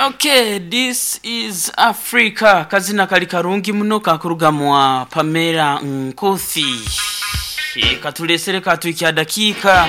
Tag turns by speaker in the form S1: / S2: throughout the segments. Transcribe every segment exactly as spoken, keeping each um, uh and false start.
S1: Okay, this is Africa. Kazina kali karungi muno kakuruga mwa Pamela Nkothi. E, katulesere katwikya dakika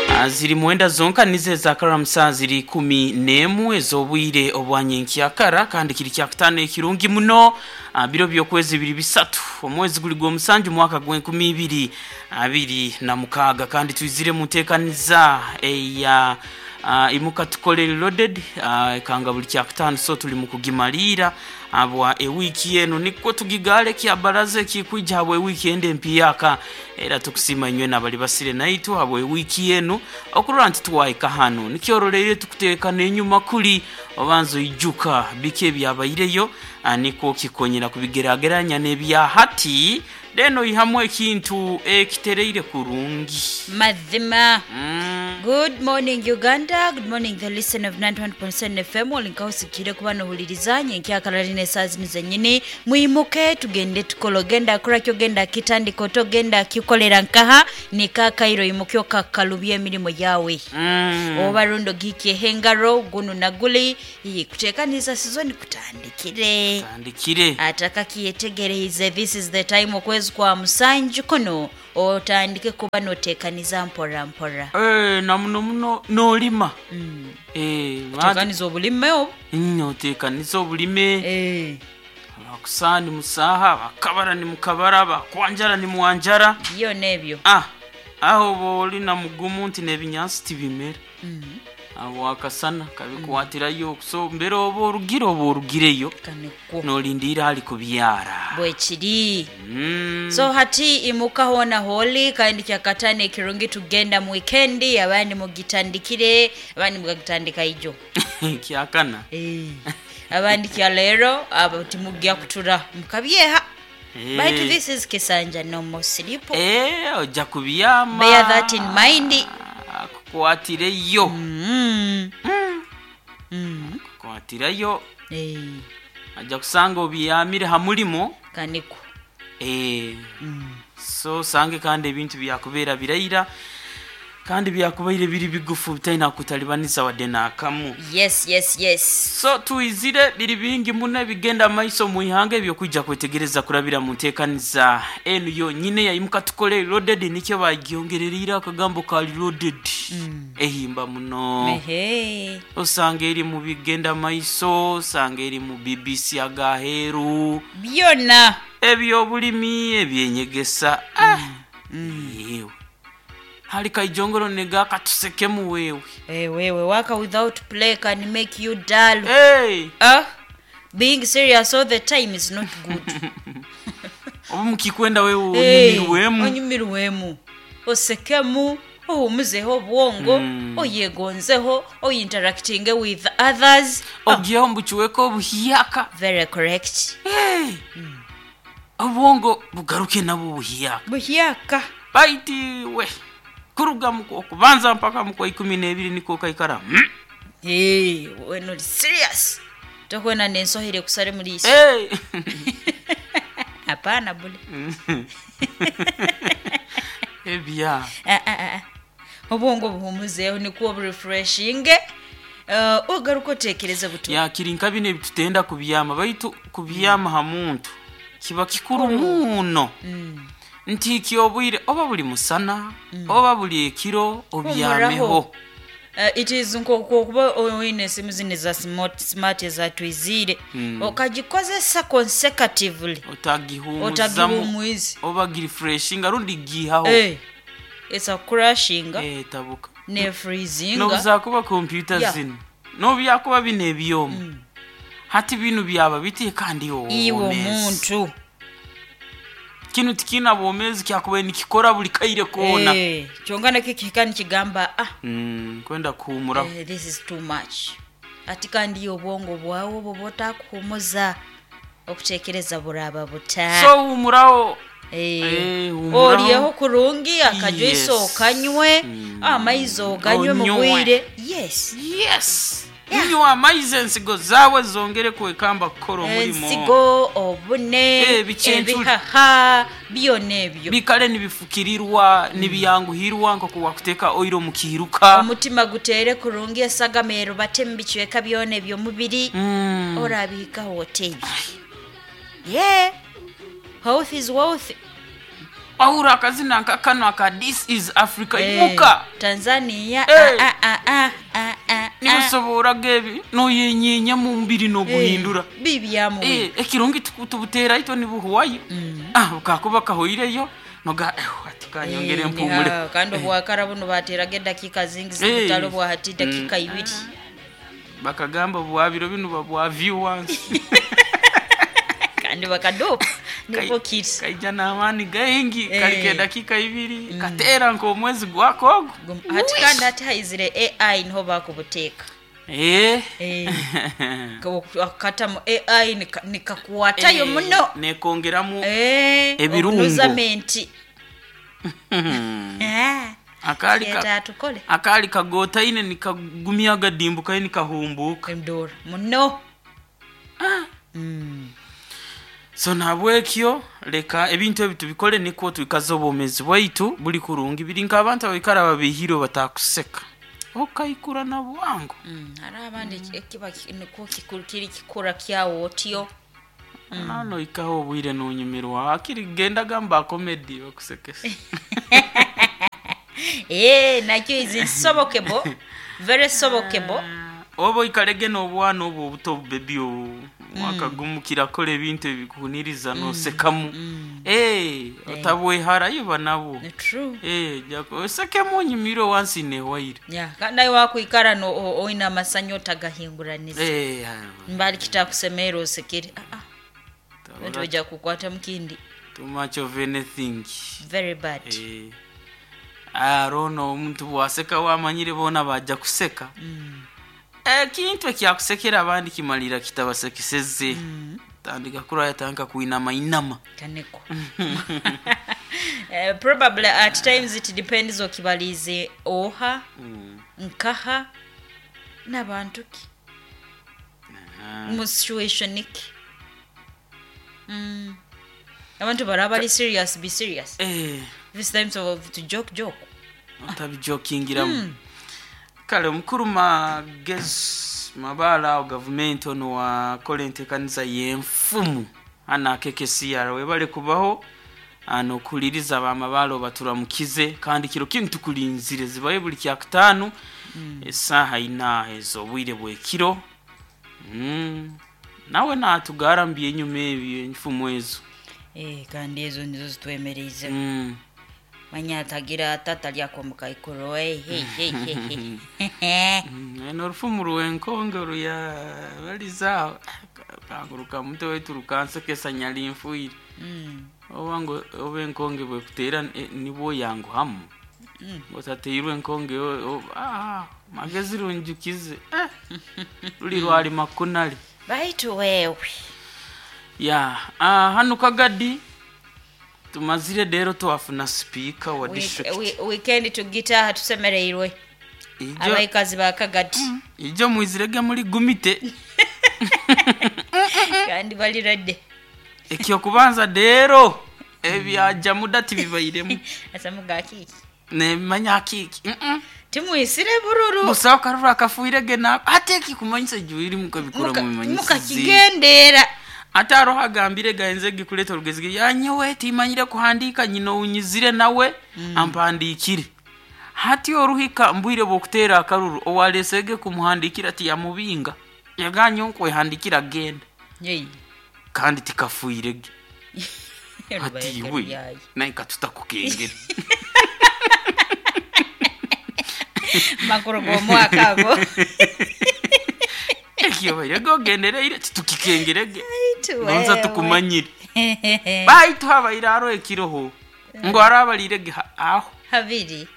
S1: ah, ziri mwenda zonka nize zakara saa ziri kumi n'emu ez'obwire obwanyenkyakara kandi kiri kyakutaano ekirungi muno ah, biro by'okwezi biri bisatu omwezi guli gw'omusanju mwaka gw'enkumi ibiri abiri na mukaaga kandi twizire mu nteekaniza eya uh, imuka tukole loaded uh, kanga buli kyakutaano so tuli mu kugimalira abwa ewiiki eno nikwo tugigale kya baraza ekikwija habwa ewiiki ende empiyaka era tukusima inywe nabali basire naitu habwa ewiiki eno okurora nti tuwaika hano nikyoroleire tukuteekana enyuma kuli obanza oijuka biki ebyabaireyo ah, nikwo kikonyera kubigerageranya n'ebya hati then oihamu ekintu ekitereire kurungi
S2: Mazima.
S1: mm.
S2: Good morning Uganda, good morning the listener of ninety-one point seven F M. Olinkahusikire kuba nohuliriza nyenkyakala line saa zino zennyini. Mwimuke tugende tukole, ogenda kurakyo, ogenda kitandika otogenda kikolera nkaha nikakairo, imuke okakalubya emirimu yawe
S1: Mm.
S2: oba rundo giikyeho engaro gunu naguli iyi kuteekaniza sizoni kutandikire.
S1: Tandikire.
S2: Atakakiyetegereize, this is the time, okwezi kwa musanju kuno otandike kuba noteekaniza mpora mpora.
S1: Eh, na muno muno nolima mm. eh,
S2: Teekaniza obulime obu.
S1: Noteekaniza obulime.
S2: Eh,
S1: abakusaha ni musaha, abakabara ni mukabara, abakwanjara ni mwanjara.
S2: Byona ebyo.
S1: Ah, aho oba oli na mugumu nti n'ebinyansi tibimera abo akasana kabikwatirayo, so mbere oba orugire oba orugireyo
S2: Kanekwo.
S1: nolindiira ali kubyara.
S2: Bwekiri.
S1: Mm.
S2: So hati imuka hona holi kandi kyakatano ekirungi tugenda mu wikendi, abandi mugitandikire, abandi mugagitandika ijo.
S1: Kyakana.
S2: Eh, abandi kya leero abo timugya kutura mukabyeha.
S1: Eh.
S2: But this is kisanja no more sleep.
S1: Eh, ojja kubyama.
S2: Bear that in mind.
S1: Akukwatireyo.
S2: Mm. Mm.
S1: Kukwatirayo.
S2: Eh,
S1: ajja kusanga obyamire ha mulimo.
S2: Kaniko.
S1: Eh, so osange kandi ebintu byakubeera biraira kandi byakubaire biri bigufu bitalina kutalibaniza wadde n'akamu.
S2: Yes yes yes.
S1: So tuizire biri bingi muno ebigenda maiso mu ihanga ebyokwijja kwetegereza kurabira mu nteekaniza enu yonyine yayimuka tukole loaded, nikyo bagyongerereire akagambo ka loaded ehimba muno.
S2: Ehe.
S1: Osanga eri mu bigenda maiso, osanga eri mu B B C agaheeru.
S2: Byona.
S1: Ebyobulimi, ebyenyegesa, ah, yewe hali kaijongolo nega katusekemu wewe.
S2: Eh, wewe work without play can make you dull.
S1: Hey!
S2: Ah, being serious all the time is not good.
S1: Oba mukikwenda wewe
S2: Eh,
S1: onyumirwemu.
S2: Onyumirwemu, osekemu, ohumuzeho obwongo,
S1: Mm.
S2: oyegonzeho, oyinteractinge with others. Ah,
S1: ogyeho mbukiweko obuhiyaka.
S2: Very correct.
S1: Hey! Obwongo bugaruke nabwo buhiyaka.
S2: Buhyaka.
S1: Baiti we kuruga mu okubanza mpaka mu kwa ikumi n'ebiri niko kaikara mm.
S2: Hey, when uri serious tokwena nensohere kusare muri isi.
S1: Hey!
S2: Hapana bule.
S1: Ebya.
S2: Ah, ah, ah. Obwongo buhumuzeho nikuwo burefreshinge, uh, ogaruka otekereze buto.
S1: Yakiri nka bino ebitutenda kubyama, baitu kubyama ha muntu kiba kikuru muno nti kyobwire oba buli musana oba buli ekiro obyameho.
S2: Humuraho. Uh, it is nkokuba oine esimu zino eza smart, smart ezatwizire mm. okagikozesa consecutively.
S1: Otagihumuzamu.
S2: Otagihumwize.
S1: Oba girefreshinga rundi gihaho.
S2: Hey, it's a crashinga.
S1: Eh, tabuka.
S2: Ne freezinga.
S1: Nobuzakuba kompyuta
S2: Yeah.
S1: zino nobyakuba bino ebyoma hati bino byaba biti kandi
S2: iwe
S1: obwomezi
S2: omuntu
S1: kino tikina bwomezi kyakubaire nikikora buli kaire koona.
S2: Eh, kyonka nakyo kihika nikigamba ah,
S1: Mm, kwenda kuhumuraho.
S2: eh, this is too much ati kandi obwongo bwawe obwo bwotakuhumuza okutekereza buraba buta.
S1: So humuraho.
S2: Eh,
S1: Eh, humuraho.
S2: olyeho kurungi akajuice
S1: Yes.
S2: okanywe
S1: Mm.
S2: amaizi oganywe
S1: Onywe.
S2: mubwire, yes.
S1: Yes. Nywa amaizi ensigo zaawe zongere kwekamba kukora omurimo.
S2: Ensigo, obune,
S1: Eh, bikyentuli.
S2: ebihaha byona ebyo
S1: Bikale nibifukirirwa, nibiyanguhirwa nkokuwakuteeka oiro mu kiiruka.
S2: Omutima gutere kurungi, esagama erubate mu bicweka byona ebyomubiri.
S1: Mm.
S2: Orabihikaho otebi ye health is wealth.
S1: Ahura akazina nka kano aka This Is Africa.
S2: Eh,
S1: Imuka.
S2: Tanzania.
S1: Eh.
S2: Ah, ah, ah, ah, ah, ah.
S1: Nibusoboraga ebi noyenyeenya mu mubiri noguhindura.
S2: Eh, bibyamuwe.
S1: Eh, ekirungi tuku- tubuteera itwe nibuhwayo. Ah, bukakuba kahoireyo noga eh, ati kanyongere
S2: Eh,
S1: mpumule.
S2: niha, kandi obwakara buno bateraga edakiika zingi
S1: Eh.
S2: zibutalo bwa hati dakika ibiri.
S1: Bakagamba bwabiro bino babwa view once.
S2: Kandi bakadopa niko kiri.
S1: Kaija n'amaani gaingi.
S2: Eh.
S1: Kali kedakika ibiri kateera nk'omwezi gwako ogwo.
S2: Gum- hati kandi hati haizire A I niho bakubuteeka.
S1: Eh.
S2: Eh. Katamu A I nika- nikakuwatayo muno.
S1: Nekongeramu
S2: Eh,
S1: ebirungo.
S2: obunuzamenti. Eh,
S1: akali ka,
S2: kyeta tukole.
S1: Akali kagotaine nikagumya agadimbukayo nikahumbuka.
S2: Endora muno.
S1: Ah.
S2: Mm.
S1: So nabwekyo leka ebintu ebi tubikole nikwo twikaze obwomezi bwaitu buli kurungi. Biri nk'abantu abaikara babihirwe batakuseka okaikura na bwangu.
S2: Mm, hariho abandi eki- ekiba ki- nikwo kikuru kiri kikura kyawo otyo.
S1: Nano ikaho obwire nonyumirwa akiri gendaga mba comedy bakusekesa.
S2: Eh, nakyo is insobokable, very sobokable.
S1: Oba oikarege n'obwana obwo obuto obubebi obu mwaka gumu kirakora ebintu ebikuhuniriza nosekamu. Eh, otabweharayo banabo.
S2: Ni true.
S1: Eh, jako osekemu onyumirwe wansi newaire.
S2: Yeah, kandi nawe wakwikara no o- oine amasanyu otagahinguraniza.
S1: Eh,
S2: Mbali kitakusemeera osekere. Ah, ah,
S1: tabura
S2: ojja kukwata mukindi.
S1: too much of anything.
S2: Very bad.
S1: Eh, arono omuntu bwaseka wamanyire boona bajja kuseka. Ekintu ekyakusekera abandi kimalira kitabasekeseze. Tandika kuraya tandika kuinama inama.
S2: Kaneko. Eh, probably at times it depends okibalize oha, nkaha n'abantu ki mu situation ki. Mm. Abantu baraba bari serious, be serious.
S1: Eh,
S2: This times of to joke, joke.
S1: otabijokingiramu. Kale omukuru Magezi Mabaala awo gavumenti ono wakola enteekaniza y'enfumu hano akekesiyara webale kubaho ano okuliriza bamabaala obaturamukize kandi kiro kinu tukulinzire zibaye buli kyakutaano esaaha ina ez'obwire bw'ekiro. Mm. Nawe natugara enyuma ebyo enfumu ezo.
S2: Eh, kandi ezo nizo zitwemereize.
S1: Mm.
S2: Manya atagira atata lyakomuka ikuru. Hey, hey, hey, hey, hey.
S1: Mm, eno orufumu rw'enkonge oruya balizaaho kanguruka mutwe waitu rukansekesa nyali nfuire.
S2: Mm.
S1: Oba ngo oba enkonge bwekuteera eh, nibwo yanguhamu
S2: Mm.
S1: otateirwe enkonge o- o- ah, magezi runjukize eh, ruli rwali makunali.
S2: Baitu wewe.
S1: Ya, ah, hano Kagadi tumazire rero twafuna sipiika wa
S2: Week-
S1: district.
S2: we- weekend tugitaha tusemereirwe.
S1: Ijo
S2: Abaikazi ba Kagadi.
S1: ijo mwizirege muri gumite.
S2: Kandi bali ready.
S1: Ekyokubanza rero ebyaja muda tibibairemu.
S2: Asamuga kiki?
S1: Nemanya kiki. Mm-mm.
S2: Timwisire bururu.
S1: Busaho akaruru akafuirege nako ate ekikumanyisa ejuiri mukabikora mubimanyisize.
S2: Mukakigendera.
S1: Ate aroho agambire gaenze gikuleta orugezi yanyewe timanyire kuhandika nyina unyizire nawe ampandiikire hati oruhika mbwire bwokuteera akaruru owalesege kumuhandikira tiyamubinga yaganye nkwehandikira genda.
S2: Yei.
S1: Kandi tikafuirege ati
S2: Rubaye
S1: iwe
S2: yayi.
S1: naye katutakukengera.
S2: Makuru g'omwaka ago.
S1: Ekyobaire gogendereire titukikengerege.
S2: Baitu
S1: Nonza
S2: wewe.
S1: tukumanyire baitu habaire aro ekiroho ngo arabalirege aho.
S2: Habiri.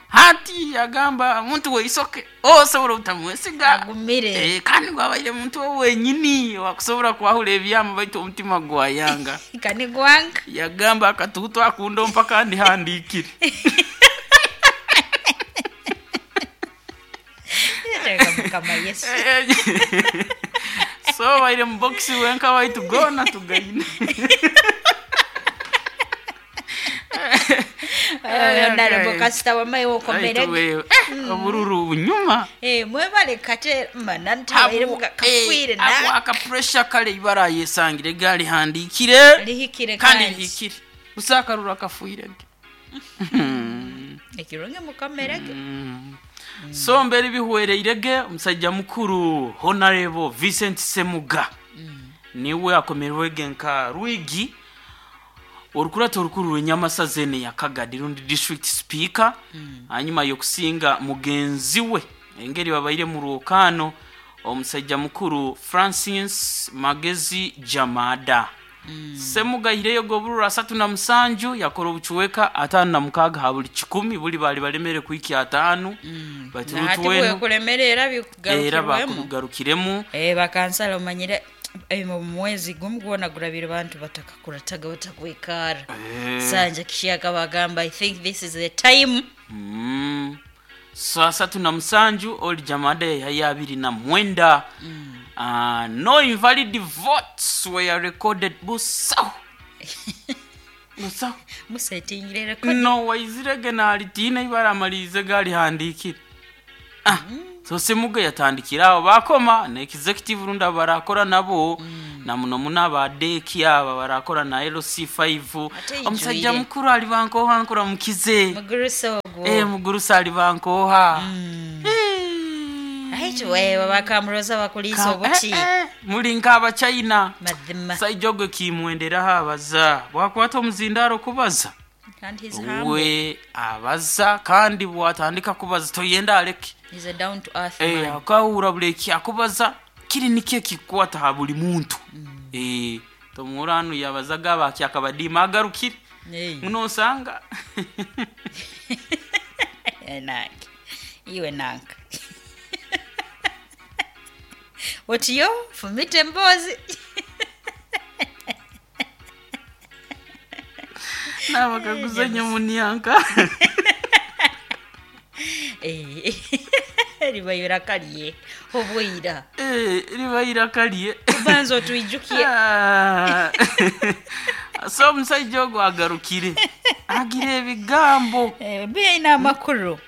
S1: Hati yagamba muntu weisoke osobola obutamwesiga.
S2: Agumire.
S1: Eh, kandi gwabaire muntu we wenyini wakusobola kwahura ebyama baitu omutima gwayanga.
S2: Kani gwanga.
S1: Yagamba akatuutu akunda mpaka ndihandikire.
S2: Tega mukama Yesu.
S1: So baire mu box wenka waitu gona tugaine.
S2: Honorable kasita wamaye wokomerege.
S1: Waitu wewe, eh, obururu bunyuma.
S2: Eh, mwebale kate mana ntabaire kafwire na
S1: aka pressure kale ibara yesangire gali handikire
S2: lihikire
S1: kandi
S2: kandi
S1: lihikire usakarura kafuire.
S2: Ekirungi mukomerege.
S1: So mbere bihwereirege omusajja mukuru Honorable Vincent Semuga niwe akomerwege nka Rwigi orukurata orukuru rw'Enyamasa zene ya Kagadi rundi district speaker, hanyuma yokusinga mugenzi we engeri babaire mu rwokano omusajja mukuru Francis Magezi Jamada. Semuga ireyo goburura asatu na musanju yakora obucuweka atano na mukaga ha buli kikumi buli bali balemere kwiki atano bati
S2: Nahati
S1: rutuwenu
S2: bwekulemerera
S1: era
S2: bikugarukirwemu.
S1: bakugarukiremu.
S2: Eh, bakansala omanyire eh, mu mwezi gumu gwona gurabire bantu batakakurataga batakwikara. Sanja kishaka bagamba I think this is the time.
S1: Mm. So asatu na musanju oli Jamada yahaya abiri na mwenda. Uh, no invalid votes were recorded busaho busaho
S2: Musetingire record.
S1: No waizirege nalitiina ibara amalirize galihandikire. Ah, so Semuga yatandikira aho bakoma na executive runda barakora nabo na muno muno abadeki aba barakora na L C five.
S2: Ate
S1: Omusajja
S2: ijwire.
S1: mukuru ali bankoha nkura mukize.
S2: Mugurusa ogwo.
S1: Eh, mugurusa ali bankoha.
S2: Aitu wewe bakamuroza bakulisa obuki.
S1: Eh, eh, muli nk'abachina.
S2: Mazima.
S1: Saija ogwe kimwenderaho abaza bwakwata omuzindaro kubaza.
S2: And he's humble.
S1: We abaza kandi bwatandika kubaza toyenda aleke.
S2: He's a down to earth
S1: Eh,
S2: man.
S1: akahura buli eki akubaza kiri nikyo ekikwata ha buli muntu. Eh, tomuranu yabazaga abaki akabadiima agarukire.
S2: Eh.
S1: Munosanga.
S2: Eh, nange. Iwe nanka. Otiyo fumite emboozi.
S1: Nabakaguza nyamunyanka.
S2: Eh, libayira kalye obwira.
S1: Eh, libayira kalye.
S2: Banza otwijukie.
S1: Ah. So omusajja ogwo agarukire agira ebigambo.
S2: Eh, biine amakuru.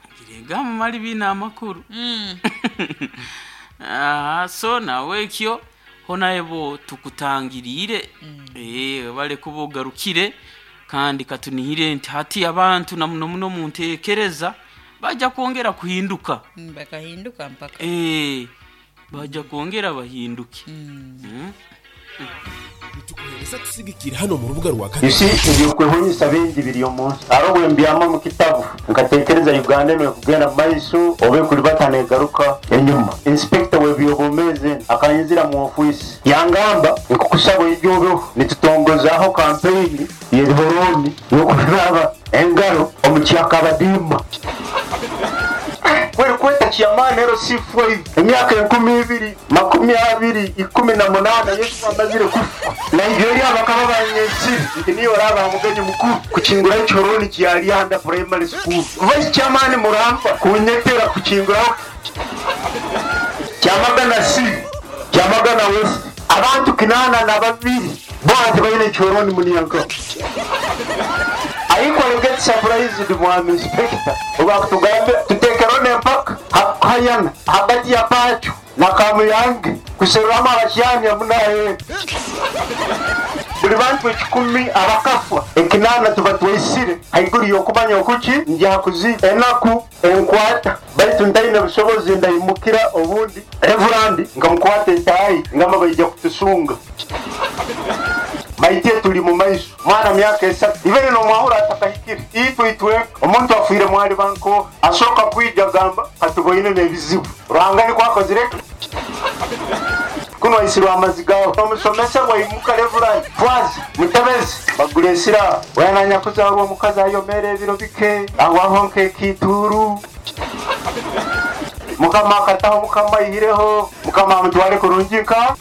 S1: Agira ebigambo mali biine amakuru.
S2: Mm.
S1: Ah, so nawe ekyo honaebo tukutangiriire. Eh, bale kuba ogarukire kandi katunihire nti hati abantu na muno muno munteekereza bajja kwongera kuhinduka.
S2: Mm, bakahinduka mpaka.
S1: Eh, bajja kwongera bahinduke.
S2: Mm.
S1: Mm.
S3: Nitukuhereza tusigikira hano mu rubuga rwa
S4: You see, ebyokwehonyesa bingi biri omu nsi hariho bwembyama mu kitabu nkatekereza Uganda emere kugenda mu maiso oba ekulibata negaruka enyuma. Inspector w'ebyobwomeezi akanyizira mu ofiisi yangamba nkukusaba oije obeho nitutongozaho kampeyini y'ebihoroni y'okunaaba engaro omu kyakabadiima. Kweri kweta kyamaani ero C five emyaka enkumi ibiri makumi abiri ikumi na munaana Yesu amazire kufa. Nigeria bakaba banyesire nti niyo oraba mugenyi mukuru kukinguraho ekihoroni kya primary school. Vice chairman Muramba kunyetera kukinguraho Kyamagana C Kyamagana West abantu kinana na babiri bona tibaine ekihoroni muniyanka. Ariko I get surprised mwami inspector obakutugambe tutekerone empaka hakukayana hagati ya Pachu na Kamuyange kuseruramu abakyani amunaye buli bantu ekikumi abakafa ekinana tuba twaisire haiguru y'okumanya okuki njakuzi enaku enkwata baitu ntaine busobozi ndayimukira obundi reverandi nkamukwata entayi ngamba baija kutusunga. Maite tuli mu maiso mwana myaka esatu ibere nomwahura atakahikire itwe itwe omuntu afuire mwali banko asooka kwija gamba katuboine n'ebizibu Ruhanga nikwo akozire kuno aisirwe amazi gawe omusomesa bwaimuka reverandi twazi mutebezi bagura esira wenanya kuzarwa omukazi ayomere ebiro bike awaho nk'ekituru mukama akataho mukama ayihireho mukama amutware kurungi nka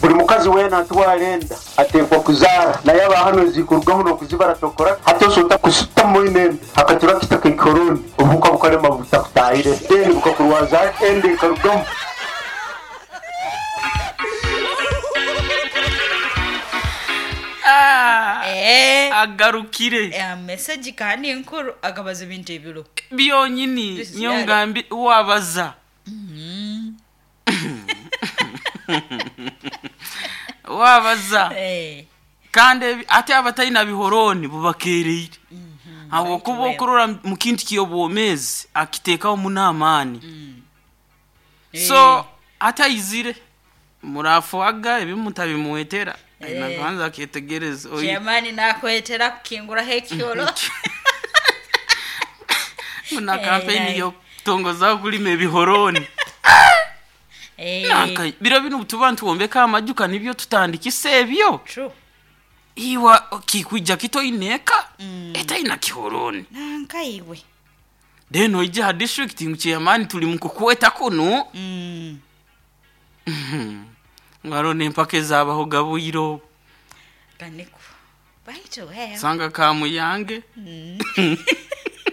S4: buli mukazi weena atwara enda ateekwa kuzaara naye abahano zikurwaho n'okuzibara tokora hati osota kusutamu ine enda hakatura kitaka ekikoroni obuhuka Bukalema butakutahire then bukakurwaza ende ekarugamu.
S1: Ah,
S2: Eh,
S1: agarukire
S2: eh, message kandi nkuru akabaza ebintu ebiro.
S1: Byonyini.
S2: This is
S1: Niyo
S2: yari.
S1: ngambi wabaza wabaza.
S2: Eh,
S1: Kandi ebi- ate abatalina bihoroni bubakereire habwokuba
S2: Right.
S1: okurora mu kintu ky'obwomeezi akiteekaho muno amaani. So atayizire murafuaga ebimu tabimuwetera
S2: Eh.
S1: nakubanza aketegereza oyi-
S2: Chairman nakwetera kukinguraho ekyolo.
S1: Na
S2: Eh,
S1: kampeni
S2: naye.
S1: yokutongozaho kulima ebihoroni.
S2: Eh,
S1: Nanka biro bino tuba ntuwombeka amajuka nibyo tutandikisa ebyo.
S2: True.
S1: Iwa kikwija kitoineka etaina kihoroni.
S2: Nanka iwe.
S1: Then oija ha district ngu chairman tuli mukukweta kunu.
S2: Mm.
S1: Ngaro nempaka ezabaho gabwiro.
S2: Kaniko. Baitu wewe.
S1: Sanga kamuyange.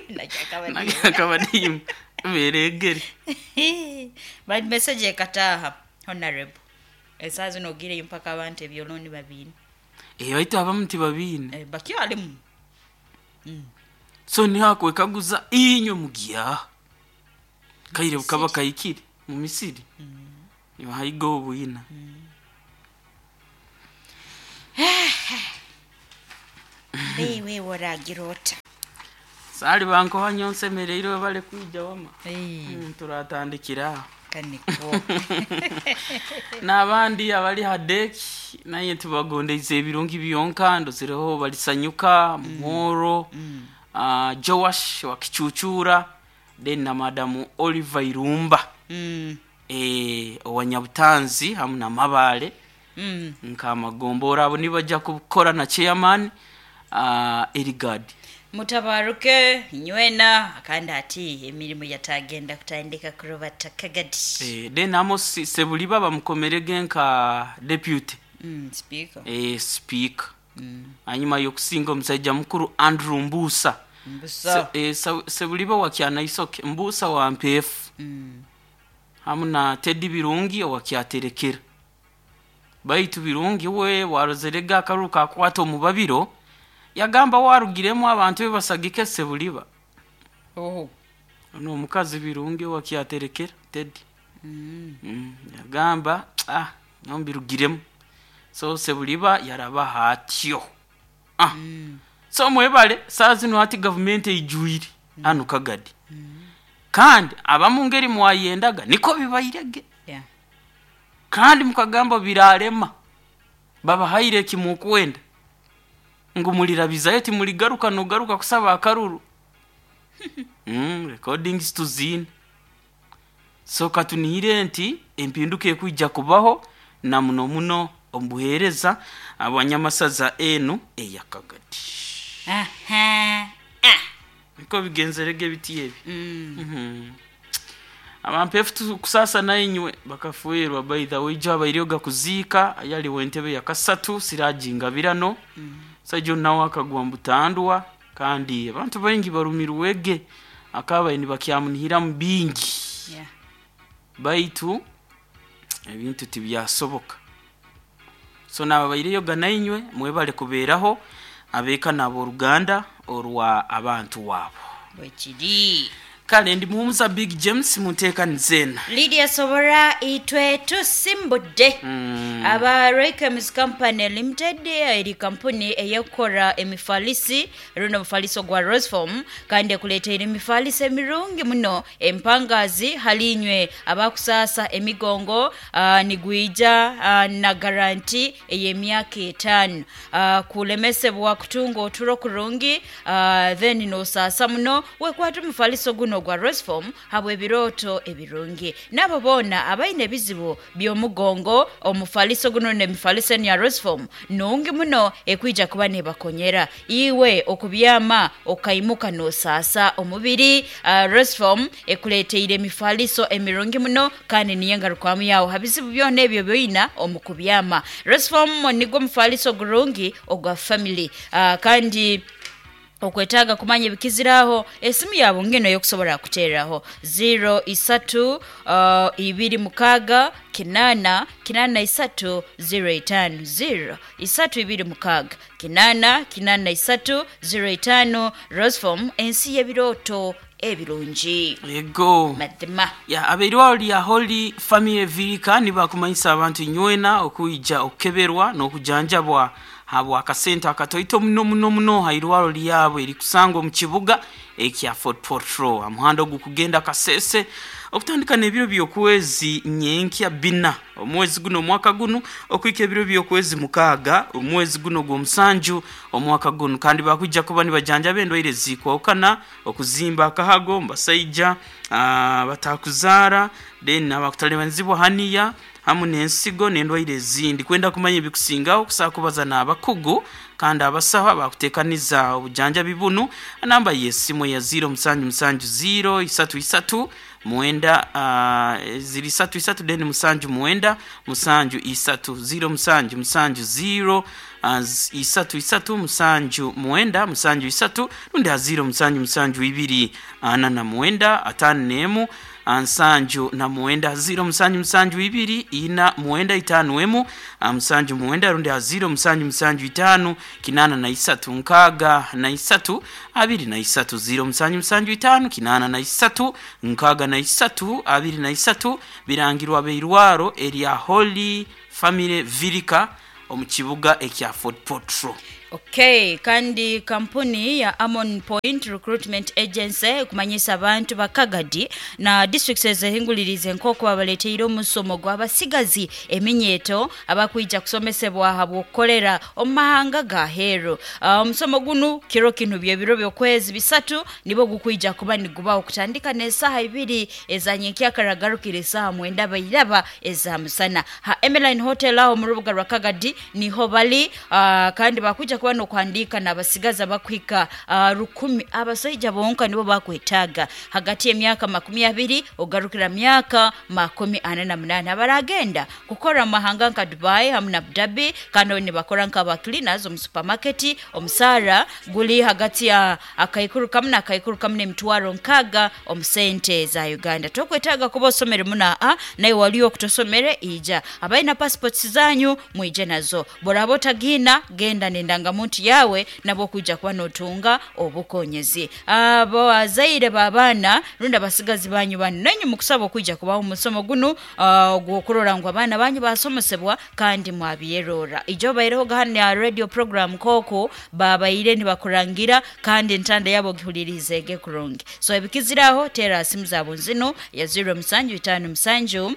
S2: Nakyakabadimu.
S1: Nakabadimu beregere.
S2: But message ekataaha honorable. Esaaha zino ogireyo mpaka abantu ebyolooni babiine.
S1: Eh, baitu abamu tibabiine.
S2: Eh, bakyalimu.
S1: So niho akwekaguza inywe mugyaha kaire bukaba kayikire mu misiri nibahayiga obwina.
S2: Wewe waragira ota.
S1: Saali bankoha nyonsemereirwe bale kwija wama.
S2: Eh,
S1: Mm, turatandikira aho.
S2: Kaniko.
S1: N'abandi abali ha deki naye tubagondeize ebirungi byonka ndozireho balisanyuka muhoro uh, Joash wa Kichuchura, then na madamu Oliver Irumba
S2: Mm.
S1: eh, owanyabutanzi hamu na Mabale
S2: Mm.
S1: nkamagombora abo nibajja kukora na chairman uh, Erigad.
S2: Mutabaruke nywena kandi ati emirimu yatagenda kutandika kurubata Kagadi.
S1: eh, then Amos Sebuliba bamukomerege nka deputy
S2: Mm, speaker.
S1: eh, speaker hanyuma yokusinga omusajja mukuru Andrew Mbusa.
S2: Mbusa.
S1: Se, eh, Sa- Sebuliba wa Kyanaisoke, Mbusa wa Mpefu
S2: Mm.
S1: hamu na Teddy Birungi owa Kyaterekera. Baitu Birungi we warozerega akaruru kakwata omubabiro yagamba warugiremu abantu be basagike Sebuliba.
S2: Oh.
S1: Ono omukazi Birungi owa Kyaterekera Teddy.
S2: Mm.
S1: Mm, yagamba ah nombirugiremu, so Sebuliba yaraba atyo ah.
S2: Mm.
S1: So mwebale saa zino hati gavumenti eijwire hanu Kagadi kandi abamu ngeri mwayendaga niko bibairege.
S2: Yeah.
S1: Kandi mukagamba birarema babahaire kimukwenda ngu mulirabizayo timuligaruka nogaruka kusaba akaruru. mm, recordings tuzine. So katunihire nti empinduka ekwijja kubaho na muno muno omubuheereza abanyamasaza enu eyakagadi.
S2: Aha. Ah.
S1: Niko bigenzerege biti ebi.
S2: Mm.
S1: Mhm. Abampefu tu- kusasa nainywe bakafuirwa. By the way, jo abairyoga kuziika yaliwo entebe ya kasatu Siraji Ngabirano mm. Sajo nawe akagwa mbutandwa kandi abantu baingi barumirwege akabaye nibakyamunihiramu bingi.
S2: Yeah.
S1: Baitu ebintu tibyasoboka. So naba baireyoga nainywe mwebale kubeeraho abeeka n'abooluganda orwa abantu waabo.
S2: Bwekiri.
S1: Kale ndi muhumuza Big James munteekaniza.
S2: Lydia Sobora itwe tusimbudde.
S1: Mm.
S2: Aba Raykems Company Limited eri kampuni eyekukora emifalisi runo omufaliso gwa Roseform kandi ekuleteire emifaliso emirungi muno empangazi halinywe abakusaasa emigongo uh, nigwija uh, na garanti ey'emyaka etaano uh, kulemesebwa kutunga oturo kurungi uh, then nosaasa muno wekwata omufaliso guno gwa Roseform habwa ebirooto ebirungi nabo boona abaine ebizibu by'omugongo omufaliso guno nemifaliso enu ya Roseform nungi muno ekwija kuba nebakonyera iwe okubyama okaimuka nosaasa omubiri. uh, Roseform ekuleteire emifaliso emirungi muno kandi niyo engarukwamu yawo ha bizibu byona ebyo byoina omu kubyama. Roseform nigwo omufaliso gurungi ogwa family uh, kandi Okwetaaga kumanya ebikiziraho esimu yabo ngeno yokusobola kuteeraho zero isatu uh, ibiri mukaaga kinana kinana isatu zero itano zero isatu ibiri mukaaga kinana kinana isatu zero itano. Rosform, ensi y'ebirooto ebirungi.
S1: Ego.
S2: Mazima.
S1: Ya abeirwaro lya Holy Family Virika nibakumanyisa abantu nywena okuija okukeberwa n'okujanjabwa habwa akasente akatoito muno muno muno ha irwaro lyabo erikusangwa omu kibuga ekya Fort Portal amuhanda ogukugenda Kasese okutandika n'ebiro by'okwezi nyenkya bina omwezi guno omwaka guno okwika ebiro by'okwezi mukaaga omwezi guno gw'omusanju omwaka guno. Kandi bakwijja kuba nibajanjaba endwaire zikwawukana, okuzimba akahago mubasaija batakuzaara, then abakutalibanizibwa haniya hamu n'ensigo n'endwaire ezindi. Kwenda kumanya ebikusingaho okusobola kubaza n'abakugu kandi abasaho abakuteekaniza obujanjabi bunu, namba y'esimu ya zero musanju musanju zero isatu isatu mwenda uh, ziri isatu isatu then musanju mwenda musanju isatu zero musanju musanju zero uh, isatu isatu musanju mwenda musanju isatu rundi ha zero musanju musanju ibiri ana na mwenda atano n'emu nsanju na mwenda zero musanju musanju ibiri ina mwenda itano emu musanju mwenda rundi ha zero musanju musanju itano kinana na isatu nkaga na isatu abiri na isatu zero musanju musanju itano kinana na isatu nkaga na isatu abiri na isatu. Birangirwa beirwaro erya Holy Family Virika omu kibuga ekya Fort Portal.
S2: Okay, kandi kampuni ya Amon Point Recruitment Agency kumanyisa abantu bakagadi na districts ezehingulirize nk'oku babaleteire omusomo gw'abasigazi eminyeto abakwija kusomesebwa habw'okukolera omu mahanga ga heeru. Uh, omusomo gunu kiro kinu byebiro by'okwezi bisatu nibo gukwija kuba nigubaho kutandika n'esaaha ibiri ezanyenkyakaragarukira esaaha mwenda bairaba eza musana ha Emeline Hotel aho mu rubuga rwa Kagadi niho bali. uh, kandi bakwija kuba nokuhandiika n'abasigazi abakuhika uh, rukumi abasaija bonka nibo bakwetaaga hagati y'emyaka makumi abiri ogarukira myaka makumi ana na munana abaragenda kukora mu mahanga nka Dubai hamu na Abu Dhabi, kandi nibakora nk'aba cleaners omu supermarket. Omusaara guli hagati ya akaikuru kamu n'akaikuru kamu n'emitwaro nkaaga omu sente za Uganda. Tokwetaaga kuba osomere muna a naye waliyo okutosomere ija abalina passports zanyu mwije nazo, boraba otagiina genda nendanga muntu yawe nabo kuja kuba notunga obukonyezi. Abo azaire babaana rundi abasigazi banyu banu nanyu mukusaba okuija kubaho omusomo guno uh, gw'okurora ngu abaana banyu basomesebwa kandi mwabyerora. Ijo baireho gahana ya radio program koko babaire nibakurangira kandi entanda yabo gihulirizeege kurungi. So ebikiziraho tera simu zabo nzino ya zero musanju itano musanju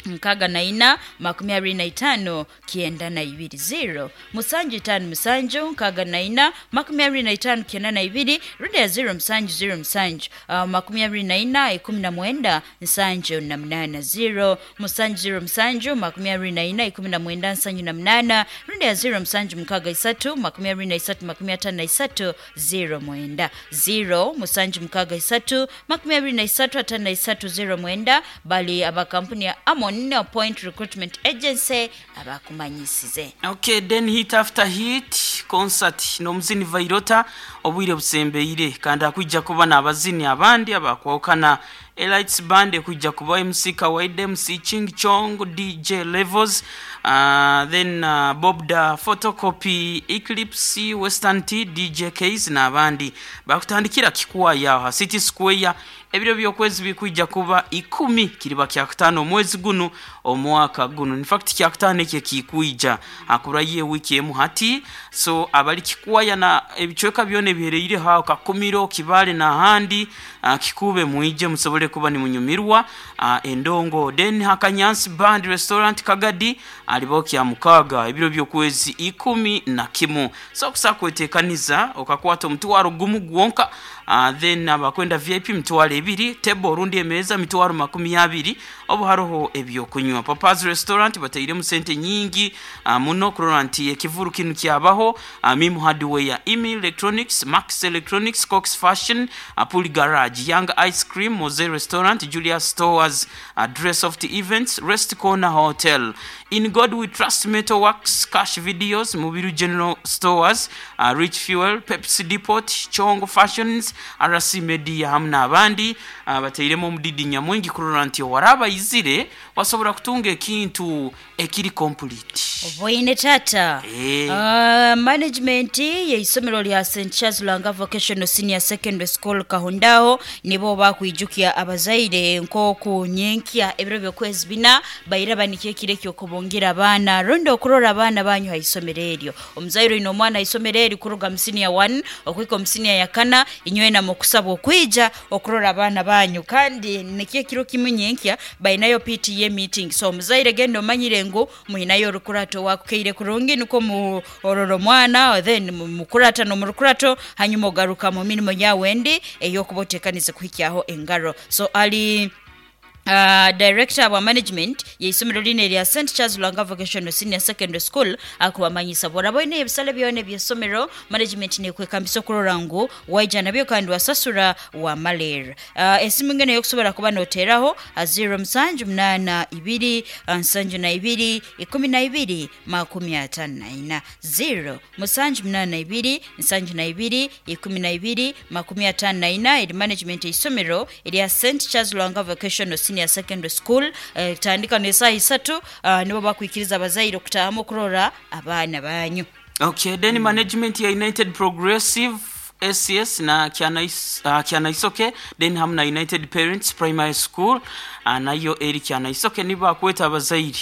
S2: nkaga na ina makumi abiri na itano kienda na ibiri zero musanju itano musanju nkaga na ina makumi abiri na itano kienda na ibiri rundi ya zero musanju zero musanju uh, makumi abiri na ina ikumi na mwenda nsanju na munana zero musanju zero musanju makumi abiri na ina ikumi na mwenda nsanju na munana rundi ya zero musanju mukaga isatu makumi abiri na isatu makumi atano na isatu zero mwenda zero musanju mukaga isatu makumi abiri na isatu atano na isatu zero mwenda. Bali abakampuni ya Amon Point Recruitment Agency abakumanyisize.
S1: Okay, then hit after hit concert n'omuzini Vairota obwire busembeire kandi akwijja kuba n'abazini abandi abakwawukana Elites Band ekwijja kuba M C Kawaida, M C Ching Chong, D J Levels, uh, then uh, Bob da Photocopy, Eclipse, Western T, D J Ks n'abandi bakutandikira Kikwaya ha City Square. Ebiro by'okwezi bikwijja kuba ikumi kiriba kyakutano omwezi guno omwaka guno. In fact kyakutano ekyo kikwijja akura ye wiki emu hati. So abali Kikwaya na ebicweka byona ebihereire hawo Kakumiro, Kibale n'ahandi uh, Kikube mwije musobole kuba ni munyumirwa uh, endongo. Then Hakanyansi Band Restaurant Kagadi alibo kya mukaga ebiro by'okwezi ikumi na kimu. So kusakwetekaniza okakwata omutwaro gumu gwonka uh, then abakwenda V I P mitwaro ebiri, table orundi emeza mitwaro makumi abiri, obu haroho ebyokunywa. Papa's Restaurant batairemu sente nyingi uh, muno kurora nti ekivuru kinu kyabaho. uh, Mimu Hardware, Imi Electronics, Max Electronics, Cox Fashion, uh, Pool Garage, Young Ice Cream, Moze Restaurant, Julia Stores, uh, Dress of the Events, Rest Corner Hotel, In God We Trust Metal Works, Cash Videos, Mubiru General Stores, uh, Rich Fuel, Pepsi Depot, Chongo Fashions, R C Media hamwe n'abandi. uh, batairemu omudidi nyamwingi kurora nti owaraba izire wasobora kutunga ekintu ekiri complete.
S2: Oboine tata.
S1: Eh.
S2: Uh, management yeisomero lya Saint Charles Lwanga Vocational Senior Secondary School Kahundao nibo bakwijukia abazaire nkoku nyenkia ebiro byokwezi bina baira banikiye kire kyo kubongira abana rondo okurora abana banyu haisomero eryo. Omuzaire ino omwana isomero eri kuruga mu senior one okwika mu senior ya kana inywe na mukusabwa okwija okurora abana banyu, kandi nikiye kiro kimwe nyenkia bainayo P T A meeting. So omuzaire gendo manyire ngu muinayo rukurato wakukeire kurungi nuko mu ororo mwana then mukurata no murukurato hanyuma ogaruka mu mirimo yawendi eyokubotekanize kuhikyaho engaro. So ali Uh, director wa management yeisomero line lya Saint Charles Lwanga Vocational Senior Secondary School akubamanyisa bora boine ebisale byone byesomero management ne kwekambisa okurora ngu waija nabyo kandi wasasura wa maler. Uh, esimu ngene yokusobora kuba noteraho zero musanju munana ibiri nsanju na ibiri ikumi na ibiri makumi atano na ina, zero musanju munana ibiri nsanju na ibiri ikumi na ibiri makumi atano na ina. Eri management yeisomero lya Saint Charles Lwanga Vocational Senior Secondary School. eh, tandika nesaha isatu uh, nibo bakwikiriza abazaire okutahamu okurora abaana banyu.
S1: Okay, then mm. management ya United Progressive S C S na Kyanaisoke, uh, Kyanaisoke then hamna United Parents Primary School uh, nayo eri Kyanaisoke nibo bakweta abazaire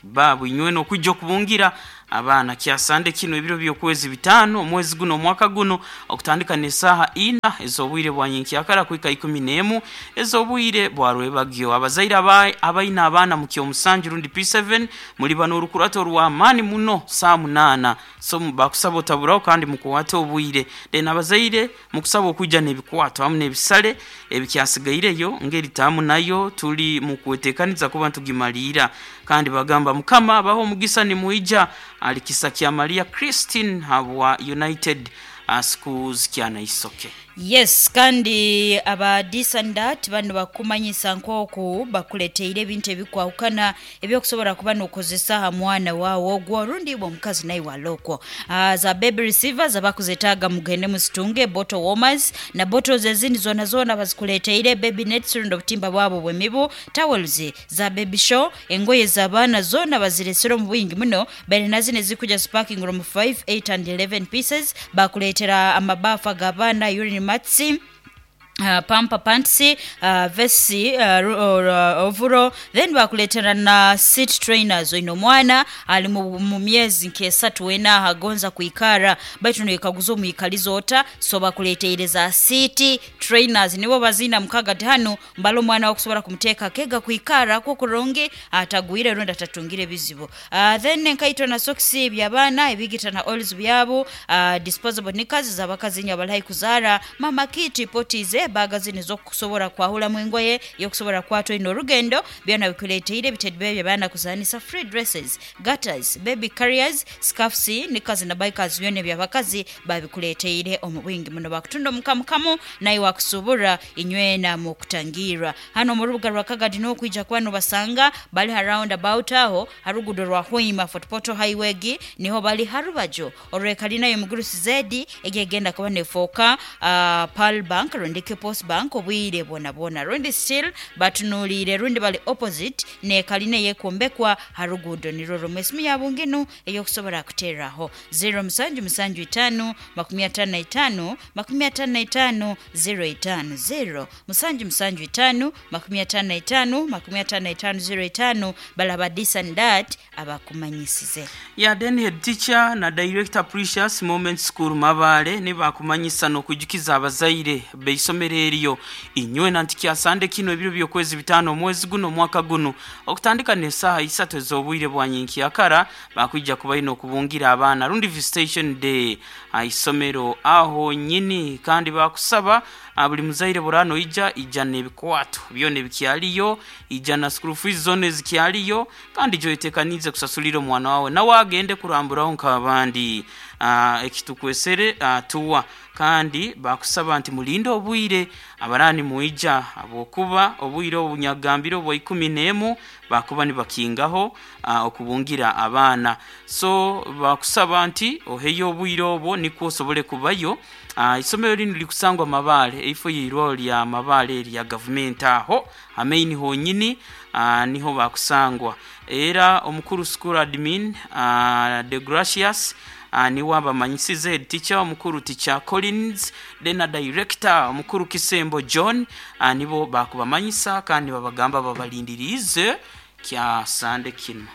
S1: babu inywe no kujja okubungira abaana kyasande kino ebiro byokwezi bitano omwezi guno omwaka guno okutandika nesaha ina ezobwire bwa nyenkyakara kwika ikumi n'emu ezobwire bwa rwebagyo. Abazaire abaina abaana mu kyomusanju rundi P seven muri bano orukurato rwa mani muno saa munana, so bakusaba otaburaho kandi mukuwate obwire. Then abazaire mukusaba okujja n'ebikwato hamwe n'ebisale ebikyasigaireyo ngeri tamu nayo tuli mukwetekaniza kuba ntugimaliira, kandi bagamba mukama baho omugisa ni muija alikisa kya Maria Christine habwa United uh, Schools Kyanaisoke.
S2: Yes, kandi aba disandat bano bakumanyisa nkoku bakuleteire ebintu ebikwahukana ebyokusobola kuba nokozesa ha mwana wawo ogwo rundi bwo mukazi naye walokwo. Uh, za baby receivers abakuzetaaga mugende musitunge bottle warmers na bottles ezindi zona zona bazikuleteire, baby nets rundi obutimba bwabo bwemibu, towels za baby show, engoye z'abaana zona baziresera mu bwingi muno bali nazine zikuja sparking room five, eight and eleven pieces. Bakuleetera amabafu ag'abaana, urine matsi, Uh, pampa pants, uh, vesi, uh, uh, ovuro, then bakuletera na seat trainers. Oino mwana ali mu, mu myezi nkesatu wena agonza kuikara baitu noyekaguza omwikalizo ota, so bakuleteire za seat trainers nibo bazina mukaga tano mbalo mwana okusobola kumuteka kega kuikara ko kuronge atagwire ronda atatungire bizibu. Uh, then nkaitwa na socks byabana ebigita na oils byabo, uh, disposable knickers zabakazi nyabalahi kuzara, mama kiti potize baga zino zokusobola kwahula mwingoye yokusobola kwatwa ino orugendo byona bikuleteire bitedbe byabana kuzanisa, free dresses, gutters, baby carriers, scarves, knickers na bikers byona byabakazi babikuleteire omu bwingi muno. Bakutunda omukamukamu naye wakusubura inywena mu kutangira hano mu rubuga rwa Kagadi n'okwija kwano basanga bali around about aho harugudo rwa Hoima Fort Portal Highway gi niho bali harubajo orwekalina yo mugurusi zedi egegenda kuba nefoka uh, Pearl Bank rundi Post Bank obwire bona bona rundi still batunulire rundi bali opposite ne kaline yekombekwa harugudo niroro mwesimu yabunginu eyokusobola kuteraho zero musanju musanju itano makumi atano na itano makumi atano na itano zero itano zero musanju musanju itano makumi atano na itano makumi atano na itano zero itano balaba this and that abakumanyisize.
S1: Ya then head teacher na director Precious Moment School Mabale ne bakumanyisa no kujukiza abazaire beisomero isomero eryo inywe nanti kyasande kino ebiro by'okwezi bitano omwezi guno omwaka guno okutandika n'esaaha isatu ez'obwire bwa nyenkyakara bakwija kuba ino okubungira abaana rundi visitation day isomero aho nyini. Kandi bakusaba buli muzaire burano ija ija n'ebikwato byona ebikyaliyo, ija na school fees zone zikyaliyo, kandi joyetekanize kusasulira omwana wawe nawe agende kuramburaho nk'abandi. Ekitukwesere tuwa kandi bakusaba nti mulinde obwire abarani muija abokuba obwire obunyagambiro bwa ikumi n'emu bakuba nibakingaho okubungira abaana. So bakusaba nti oheyo obwire obwo nikwo osobole kubayo. Isomero lino likusangwa Mabale, eifo yirwa lya Mabale lya government aho amaini honyini niho bakusangwa. Era omukuru school admin De Gracious niwe abamanyisize head teacher omukuru teacher Collins, then director omukuru Kisembo John, nibo bakubamanyisa kandi babagamba babalindirize kya sande kino.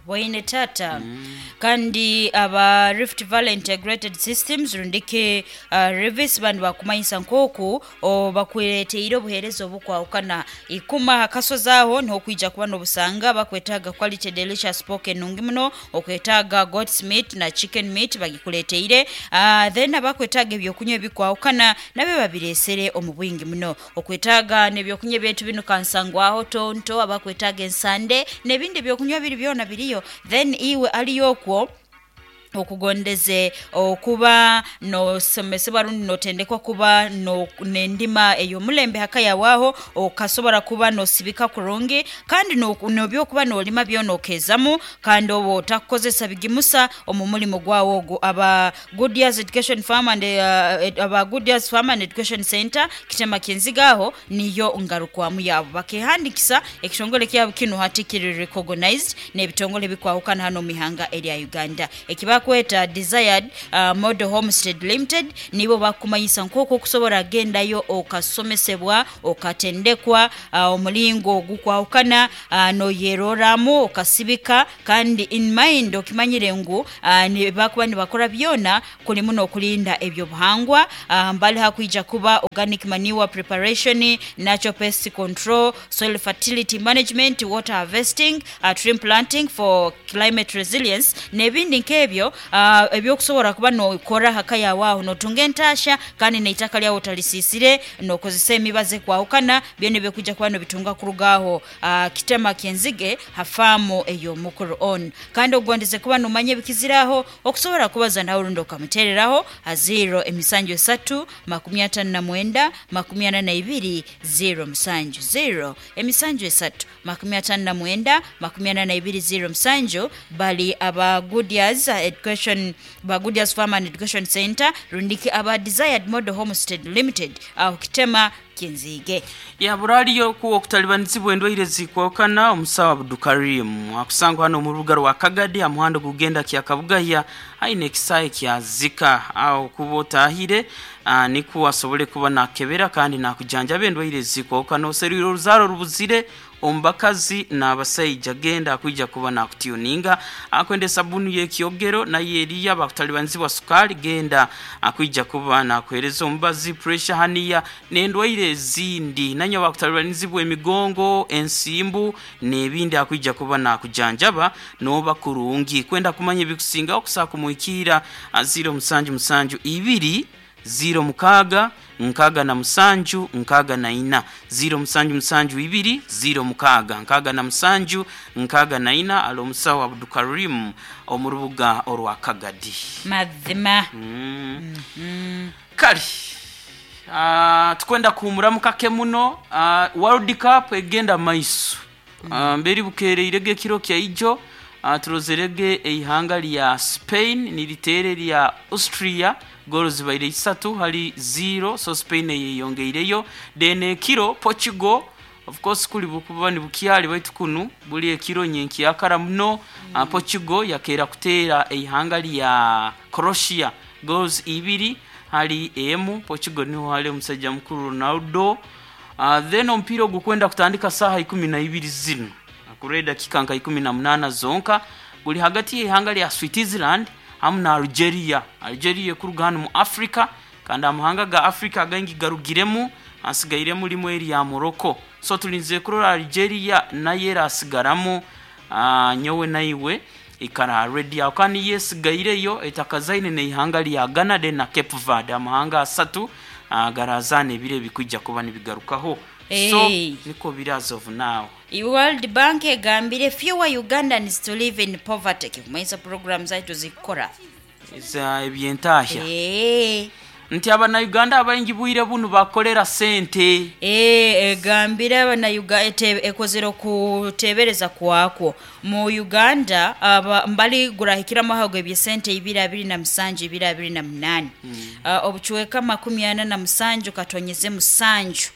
S2: Bwaine tata. Mm. Kandi aba Rift Valley Integrated Systems rundike uh, Revis bandu bakumanyisa nkoku bakuleteire obuheereza obukwawukana ikuma hakasozaho niho kwija kuba n'obusanga bakwetaaga quality delicious pork enungi muno, okwetaaga goat's meat na chicken meat bagikuleteire. uh, then abakwetaaga ebyokunywa ebikwawukana nabyo babiresere omu bwingi muno, okwetaaga n'ebyokunywa ebyetu bino kansangwaho tonto, abakwetaaga ensande n'ebindi ebyokunywa biri byona biriyo. Then iwe aliyokwo okugondeze okuba nosomesebwa rundi notendekwa kuba no nendima ey'omulembe hakayawaho okasobola kuba nosibika kurungi kandi nobyokuba nolima byona okezamu kandi oba otakukozesa bigimusa omu mulimo gwawo ogwo. Aba Goodyears Education Farm and uh, aba Goodyears Farm and Education Center kitema kinzigaho niyo ngarukwamu yabo bakehandikisa ekitongole kyabo kino hati kiri recognized n'ebitongole bikwawukana hano mihanga erya Uganda. Ekiba bakweta Desired uh, Model Homestead Limited nibo bakumanyisa nkoko okusobola agendayo okasomesebwa okatendekwa uh, omulingo ogukwawukana uh, noyeroramu okasibika kandi in mind okimanyire ngu uh, ni bakuba nibakora byona kulimu n'okulinda ebyobuhangwa. uh, mbali hakwija kuba organic manure preparation, natural pest control, soil fertility management, water harvesting, uh, tree planting for climate resilience n'ebindi nk'ebyo Uh, ebyokusobola kuba nokora hakayawaho notunga entasha kandi neitaka lyawo talisisire nokozesa emibaze kwawukana byone byokujja kuba nobitunga kurugaho uh, kitema kenzige hafamu ey'omukuru on. Kandi ogondeze kuba nomanya ebikiziraho okusobola kubaza nawe rundi okamutereraho ha zero emisanju esatu makumi atano na mwenda makumi ana na ibiri zero musanju zero emisanju esatu makumi atano na mwenda makumi ana na ibiri zero musanju. Bali aba Goodyears Education ba Goodyears Farm and Education Center rundiki aba Desired Model Homestead Limited aho kitema kinzige
S1: ya buraliyo ku okutalibanizibwa endwaire zikwokana omusawo Abdukarim akusangwa hano mu rubuga rwa Kagadi amuhando gugenda kya Kabugaya aine ekisaye kya Zika aho kuba otahire niko asobole kuba nakebera kandi nakujanjaba endwaire zikwokana oserwire oruzaro rubuzire ombakazi n'abasajja genda akwija kuba nakutuninga akwende sabuni y'ekyogero naye eriya bakutalibanizibwa sukali genda akwija kuba nakuhereza omubazi pressure haniya n'endwaire ezindi nanyo bakutalibanizibwa emigongo ensimbu n'ebindi akwija kuba nakujanjaba noba kurungi kwenda kumanya ebikusinga okusaa kumuikira zero musanju musanju ibiri zero mukaga nkaga na musanju nkaga na ina zero musanju musanju ibiri zero mukaga nkaga na musanju nkaga na ina alo musawo Abdukarim omurubuga orwa Kagadi
S2: mazima.
S1: mm. mm -hmm. Kali uh, tukwenda kuhumuramu kake muno. uh, World Cup egenda maiso. mm. uh, mberi bukereirege ekiro kya ijo uh, turozerege eihanga lya Spain niritere lya Austria goals zibaire isatu hali zero, so Spain yeyongeireyo. Then ekiro Portugal of course kuli bukuba ni bukyali baitu kunu buli ekiro nyenki akara muno. mm. uh, Portugal yakera kutera eihanga lya Croatia goals ibiri hali emu. Portugal niho hali omusajja mukuru Ronaldo. Uh, then omupiira ogukwenda kutandika saha ikumi na ibiri zino akure dakika nka ikumi na munana zonka guli hagati y'ihanga lya Switzerland hamu na Algeria. Algeria ekuruga hano mu Africa kandi amahanga ga Africa agangi garugiremu asigaire mulimu erya Morocco. So tulinze kurora Algeria nayo erasigaramu. uh, nyowe naiwe ikara ready aho kandi yesigaireyo etakazaine neihanga lya Ghana de na Cape Verde, amahanga asatu uh, garazana ebiro ebikwijja kuba nibigarukaho. So
S2: Hey.
S1: niko biri as of now.
S2: World Bank egambire fewer Ugandans to live in poverty, kikumanyisa program zaitu zikukora
S1: Eza ebyentahya
S2: Eh.
S1: nti abanauganda abaingi bwire bunu bakolera sente.
S2: Eh, egambire abanauganda ekozere okutebereza kwakwo mu Uganda aba, mbali gurahikiramu ahago ebyesente ibiri abiri na musanju ibiri abiri na munani uh, obucweka makumi ana na musanju katonyeze musanju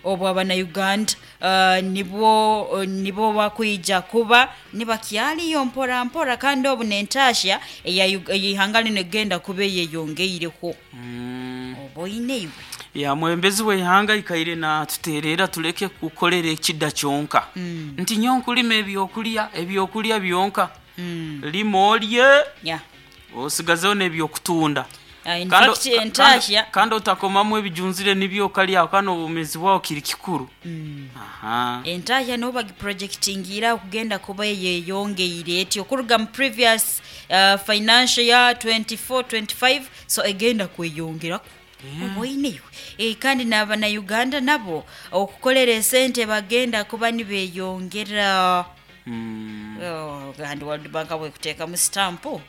S2: obwo abanauganda uh, nibwo nibo bakwija kuba nibakyaliyo mpora mpora, kandi obu nentasha eya Ug- ey'ihanga lino egenda kuba eyeyongeireho
S1: mm.
S2: oba oine iwe
S1: Ya mwembezi w'eihanga ikaire natuterera tuleke kukolera ekida kyonka mm. nti nyo nkulima ebyokulya ebyokulya byonka mm. lima olye
S2: yeah.
S1: osigazeho n'ebyokutunda.
S2: Uh, in
S1: Kandi-
S2: fact, entahya
S1: kandi- kandi otakomamu ebijunzire nibyo okalyaho kandi obumezi bwawo kiri kikuru mm. Aha.
S2: Entahya nibo bagiprojectingira okugenda kuba eyeyongeire eti okuruga mu previous uh, financial year twenty-four twenty-five, so egenda kweyongeraku yeah. Oba e, kandi n'abanauganda nabo okukolera esente bagenda kuba nibeyongera
S1: mm.
S2: oh, kandi World Bank bwekuteekamu stampu.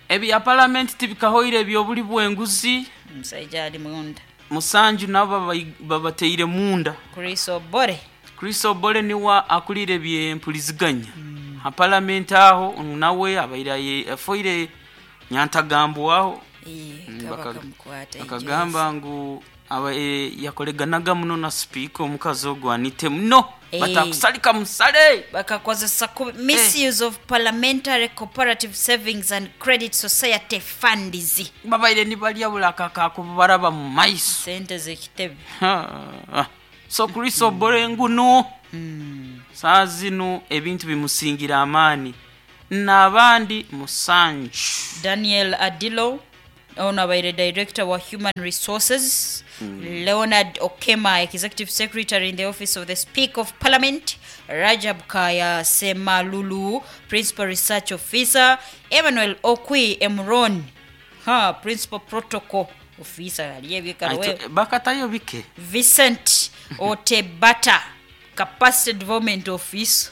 S1: Ebya palamenti tibikahoire ebyobuli bwenguzi.
S2: Omusajja ali munda.
S1: Musanju nabo babai- babateire munda.
S2: Chris Obore.
S1: Chris Obore niwa akulire ebyempuliziganya mm. ha palamenti aho nawe abaire aye- afoire nyantagambo aho.
S2: Eh,
S1: Mm,
S2: kaba
S1: baka-
S2: kamukwata.
S1: Akagamba ngu aba e, yakoleganaga muno na sipiika omukazi ogwo anite muno
S2: Eh.
S1: batakusalika musale.
S2: Bakakozesa ku misuse of Parliamentary Cooperative Savings and Credit Society funds.
S1: Babaire nibalya buli akakakubaraba mu maiso.
S2: Sente z'ekitebe.
S1: Ha. So Chris Obore nguno saa zino ebintu bimusingira amaani n'abandi musanju.
S2: Daniel Adilo ono abaire director wa human resources, Leonard Okema, executive secretary in the office of the Speaker of Parliament, Rajab Kaya Semalulu, principal research officer, Emmanuel Okwi Emron, ha, principal protocol officer aliyebyekarowe.
S1: Aito- bakatayo bike.
S2: Vincent Otebata, capacity development office,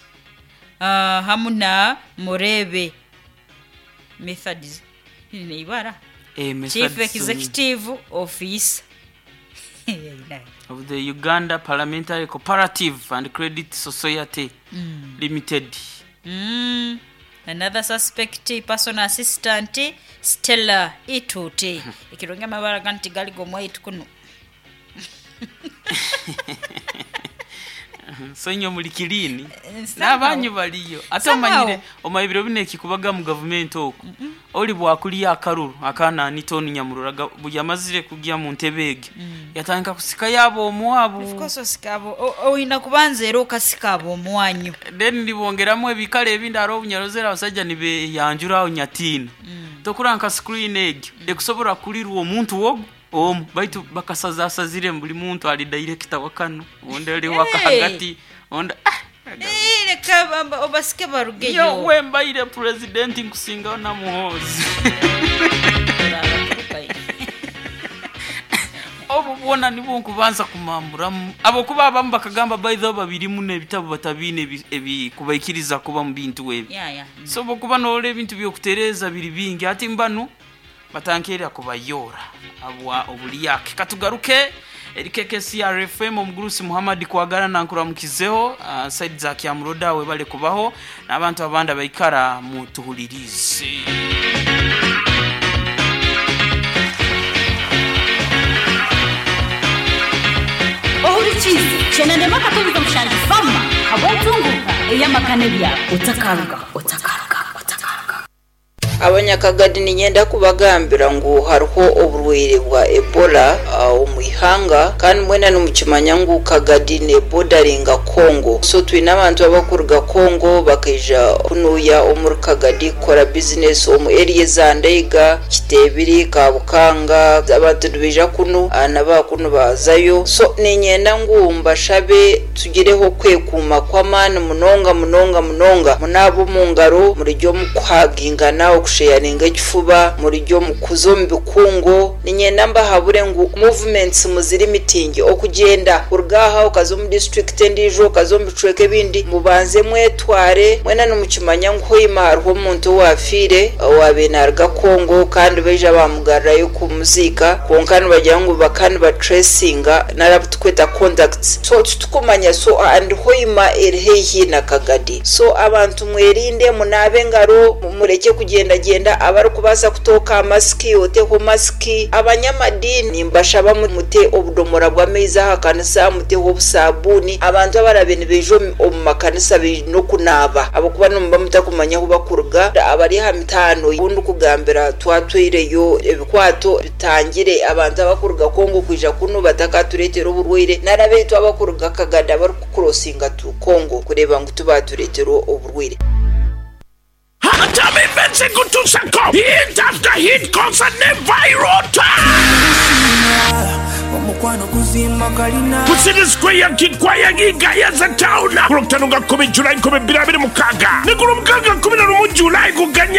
S2: uh, hamu na Murebe Methods neibara
S1: Eh,
S2: chief
S1: Methodist
S2: executive office
S1: of the Uganda Parliamentary Cooperative and Credit Society Limited.
S2: Mm. Another suspect, personal assistant Stella Itute, ekirungi amabara ganti gali gomwaitu kuno.
S1: So inyo muli kilini
S2: Eh, somehow.
S1: n'abanyu baliyo ate
S2: Somehow.
S1: omanyire omaye ebiro bino ekikubaga mu gavumenti okwo oli bwakulya akaruru akaana anita onu nyamurora bwe yamazire kugya mu ntebe ege yatandika kusikayo abo omuwabu.
S2: Of course osikabo o- oyina kubanza era okasikabo omwanyu.
S1: Then nibongeramu ebikale ebindi hariho obunyarozera abasajja nibeyanjura aho nyatiina tokura nka screen egyo ekusobola kulirwa omuntu wogu omu baitu bakasazasazire buli muntu ali director wa kano ondi ali waka
S2: Hey!
S1: hagati ondi ah,
S2: Eh, leka bamba- obasike barugeyo.
S1: Yo wembaire president nkusingaho na Muhoozi. Obu bwona nibwo nkubanza kumamburamu abokuba abamu bakagamba by the way babirimu n'ebitabo batabiine ebi- ebikubaikiriza kuba mu bintu ebi.
S2: Ya, ya. Mm.
S1: So bokuba noora ebintu byokutereeza biri bingi ati mbanu batankeera kubayora abwa obulyake. Katugaruke eri K K C R F M. Omugurusi Muhammad Kwagala nankuramukizeho uh, side za Kyamuroda webale kubaho n'abantu abandi abaikara mutuhulirize.
S5: Ohurikize chenandema katubiza mushangi fama habontunguka eyamakane bya otakaruga otakaruga otakaruga.
S6: Abanyakagadi ninyenda kubagambira ngu hariho oburwaire bwa Ebola uh, omu ihanga, kandi mwena nimukimanya ngu Kagadi nebodaringa Congo. So twine abantu abakuruga Congo bakaija kunuya omuri Kagadi kukora bizinesi omu area za Ndeiga, Kitebiri, Kabukanga. Abantu nibaija kunu uh, nabakunu bazayo. So ninyenda ngu mbashabe tugireho kwekuuma kw'amaani munonga munonga munonga, munaaba omu ngaro, murijya omu kuhagingana, okusheyaringa ekifuba, murijya omu kuza omu bikungo. Ninyenda mbahabure ngu movements muziri mitingi, okugyenda kuruga aha okaza omu district endiijo, okaza omu bicweka ebindi, mubanze mwetware. Mwena nimukimanya ngu hoima hariho omuntu owafiire owaabaire naaruga Congo, kandi baija bamugarurayo kumuziika, kwonka nibagira ngu baka nibatracinga narabu tukweta contacts, so titukumanya. So and Hoima eri haihi na Kagadi, so abantu mwerinde, munaabe engaro, mureke kugendagenda. Abarikubaasa kutooka masiki, oteho masiki. Abanyamadini mbashaba mute obudomora bw'amaizi aha kanisa, muteho obusabuuni. Abantu abarabe nibaija omu makanisa baine okunaaba, ahabw'okuba nimuba mutakumanya ahu bakuruga. Abari aha mitaano obundi kugambira twatwireyo ebikwato bitangire abantu abakuruga Kongo kwija kunu batakatureetera oburwaire, nari abaitu abakuruga Kagadi abarikukurosinga tu Kongo kureeba ngu tubatureetera oburwaire.
S7: Hatami Kutusako hit after hit concert ne viral. Ku City Square, Kikwaya, Gayaza Town, ku Lwokutaano nga kkumi Julayi nkumi bbiri abiri mukaaga ne ku Lwomukaaga kkumi na lumu Julayi kuganya.